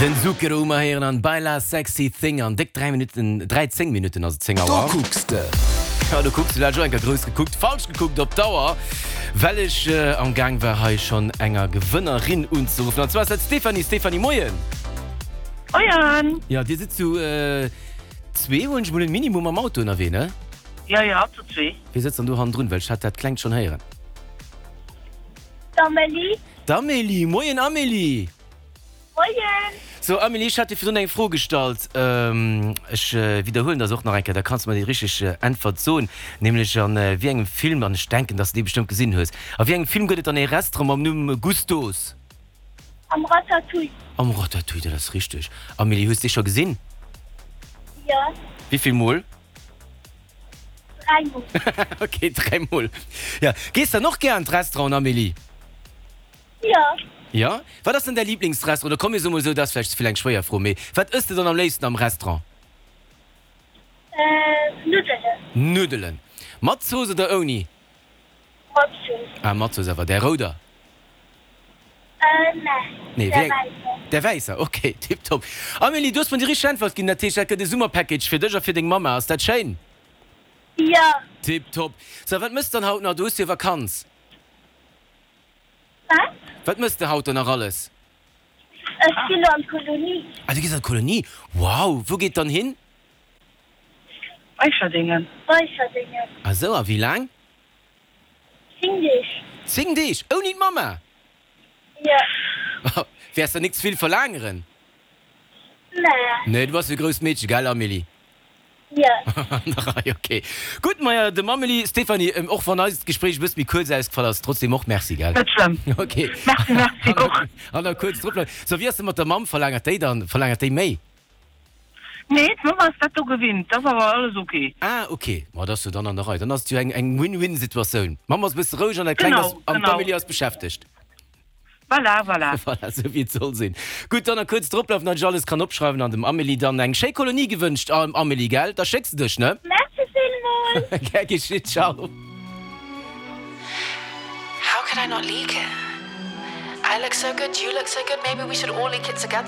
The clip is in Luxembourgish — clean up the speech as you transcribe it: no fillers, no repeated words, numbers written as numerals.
Den Zucchero hu mer héieren an Baila Sexy Thing an déck 3 Minutten, 13 Minutten ass et 10 Auer. Do kucks de. Ja, do kucks de, du hat ech och eng Kéier grouss gekuckt, falsch gekuckt op d'Auer, well ech am Gaang war hei schonn enger Gewënnerin unzeruffen an zwar ass dat d'Stéphanie. Stéphanie, moien. Moien. Ja, dir sidd zu zwee, huelen ech mol un, minimum am Auto ënnerwee, ne? Jo, jo, zu zwee. Wie sëtzt dann do hannendrun, well ech hat dat Klengt schonn héieren? D'Amélie. D'Amélie, moien Amélie. Moien! So Amélie, ech hat dir virdrun eng Fro gestallt. Ech widderhuelen der se och nach eng Kéier, da kanns de mer déi richteg Äntwert soen. Nämlech an wéi engem Film, an ech denken, dass de dee bestëmmt gesinn hues, a wéi engem Film gëtt et dann ee Restaurant mam Numm Gusteau's? Am Ratatouille. Am Ratatouille, dat ass richteg. Amélie, hues de dee scho gesinn? Jo. Wéi vill Mol? Dräimol. Ok, dräimol. Jo. Gees dann och gär an d'Restauranten, Amélie? Jo. Jo? Wat ass dann däi Liblingsrestaurant? Oder komm mir soe mol esou, dat ass vläicht ze vill eng schwéier Fro, mee wat ëss de dann am léifsten am Restaurant? Nuddelen. Nuddelen. Mat Zooss oder ouni? Mat Zooss. Ah, mat Zooss awer. Där rouder? Nee, där wäisser. Där wäisser, ok, tiptop. Amélie, du hues mer déi richteg Äntwert ginn, dat heescht, dat gëtt e Summerpackage fir dech a fir deng Mamma. Ass dat schéin? Jo. Tiptop. So, wat mëss de dann haut nach? Du hues jo Vakanz. Wat? Wat mëss de haut dann nach alles? Ech ginn elo an d'Kolonie. Ah, du gees an d'Kolonie? Wow! Wou geet dann hin? Weicherdingen. Weicherdingen. Ah sou, a wéi laang? 10 Deeg. 10 Deeg? Ouni d'Mamma? Jo. Wäers der nik zevill verlaangeren? Nee. Nee, du bass jo e grousst Meedche, gell Amélie? Jo. An der Rei, ok. Gutt, maja, dem Amélie, Stéphanie, och wann eist Gespréich e bësse méi kuerz ausgefall ass, trotzdem och Merci, gell? Net schlëmm. Ok. Merci, merci och. An da kuerz drop bleiwen. So, wéi ass et mat der Mamm? Verlaangert déi dann, verlaangert déi méi? Nee, d'Mamm ass dat do gewinnt, dat ass awer alles ok. Ah, ok, ma dat ass jo dann an der Rei. Dann ass et jo eng, eng Win-Win-Situatioun. D'Mamm ass e bësse roueg an dat Klengt ass, Genau, an genau. d'Amélie ass beschäftegt. Voilà, voilà. Voilà, esou wéi et soll sinn. Gutt, dann nach kuerz droplaufen, datt ech alles kann opschreiwen an dem Amélie dann eng schéi Kolonie gewënscht. Amélie, gell? Da schécks de dech, ne? Merci villmools. Gär geschitt, ciao. How could I not leak it? I look so good, you look so good, maybe we should all leak it together.